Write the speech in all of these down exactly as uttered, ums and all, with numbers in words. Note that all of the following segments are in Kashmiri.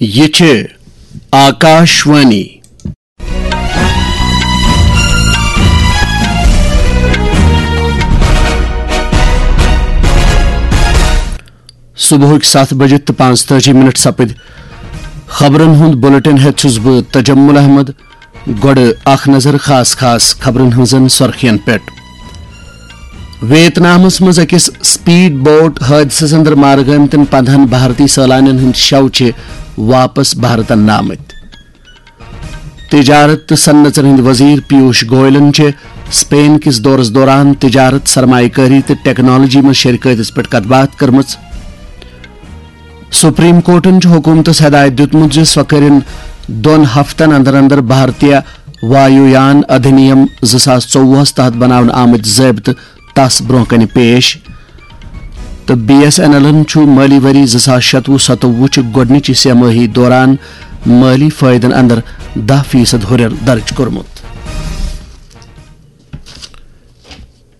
یہِ چھِ آکاشوانی۔ صبحٕکۍ ستھ بجہِ تہٕ پانٛژتٲجی منٹ سپٕدۍ۔ خبرن ہُنٛد بلیٹن ہٮ۪تھ چھُس بہٕ تجمل احمد۔ گۄڈٕ اکھ نظر خاص خاص خبرن ہٕنٛزن سرخین پٮ۪ٹھ۔ ویتنامس منٛز أکِس سپیڈ بوٹ حٲدثس اندر مارٕ گٲمتٮ۪ن پندہن بھارتی سٲلانٮ۪ن ہٕنٛدۍ شَو چھِ واپس بھارتن آمٕتۍ۔ تجارت تہٕ صنعژن ہٕنٛدۍ وزیر پیوش گوئلن چھِ سپین کِس دورس دوران تجارت، سرمایہ کٲری تہٕ ٹیکنالوجی منٛز شرکٲتِس پٮ۪ٹھ کتھ باتھ کٔرمٕژ۔ سپریم کورٹن چھُ حکومتس ہدایت دیُتمُت زِ سۄ کٔرِن دۄن ہفتن اندر اندر بھارتیہ وایو یان ادھینیم زٕ ساس ژوٚوُہس تحت بناونہٕ آمٕتۍ ضٲبطہٕ تس برونٛہہ کنہِ پیش۔ تہٕ بی ایس این ایلن چھُ مٲلی ؤری زٕ ساس شَتوُہ ستووُہ چہِ گۄڈٕنِچہِ سہ مٲہی دوران مٲلی فٲیدن اندر دَہ فیصد ہُرٮ۪ر درٕج کوٚرمُت۔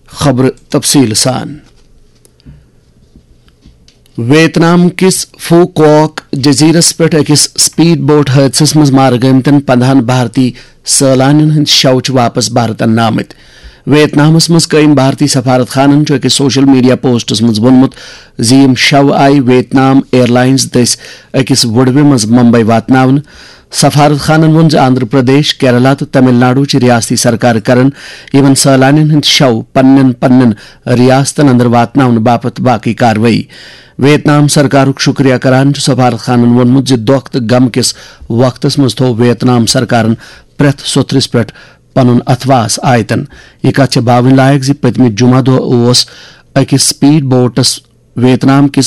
خبرٕ تفصیٖل سان۔ ویتنام کِس فو کوک جزیرس پٮ۪ٹھ أکِس سپیڈ بوٹ حٲدثس منٛز مارٕ گٲمتٮ۪ن پندہن بھارتی سٲلانٮ۪ن ہٕنٛدۍ شَو چھِ واپس بھارتن آمٕتۍ۔ ویتنامس منٛز قٲیِم بھارتی سفارت خانن چھُ أکِس سوشل میڈیا پوسٹس منٛز ووٚنمُت زِ یِم شَو آیہِ ویتنام ایئر لائنز دٔسۍ أکِس وُڈوِ منٛز ممبئی واتناونہٕ۔ سفارت خانن ووٚن زِ آندھرا پردیش، کیرلا تہٕ تمل ناڈو چھِ ریاستی سرکار کران یِمن سٲلانٮ۪ن ہٕنٛدۍ شَو پننٮ۪ن پننٮ۪ن ریاستن اندر واتناونہٕ باپتھ باقی کاروٲیی۔ ویتنام سرکارُک شُکریہ کران چھُ سفارت خانن ووٚنمُت زِ دۄکھ تہٕ غم کِس وقتس منٛز تھوو ویتنام سرکارن پرٛٮ۪تھ سوٚتھرِس پٮ۪ٹھ پنُن اتھواس آیتن۔ یہِ کتھ چھےٚ باوٕنۍ لایق زِ پٔتمہِ جمعہ دۄہ اوس أکِس سپیڈ بوٹس ویتنام کِس